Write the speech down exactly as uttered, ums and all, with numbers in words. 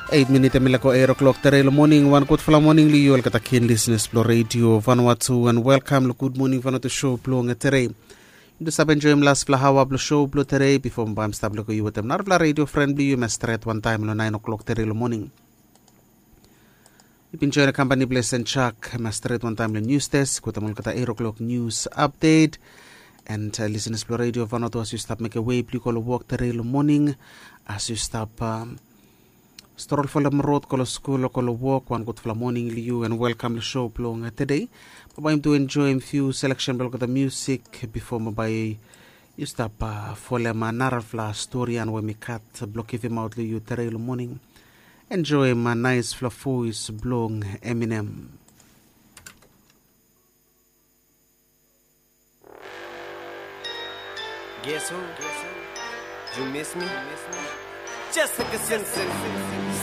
Eit minit em i laik go eit o'klok tere long moning. Wan gudfala moning long yu olgeta kin lisenas blong redio Vanuatu, and welkam long Gud Moning Vanuatu show blong tere. Yumi tu save enjoim lasfala aoa blong show blong tere bifo mi bae mi stap lego yu wetem narafala redio fren blong yu em i stret wantaem long naen o'klok tere long moning. Yu bin join kampani blong St Jack em i stret wantaem long nius desk wetem olgeta eit o'klok nius apdet. And lisenas blong redio Vanuatu, as yu stap mekem wei blong yu go long wok tere long moning, as yu stap strol folem rod go long skul o go long wok, wan gudfala moning long yu and welkam long show blong tede. Bambae yumi tu enjoim fiu seleksen blong olgeta musik bifo bambae yu stap folem narafala stori ya we mi gat blong givimaot long yu tere long moning. Enjoim naesfala voes blong Eminem. Guess who? You miss me? Jessica Simpson.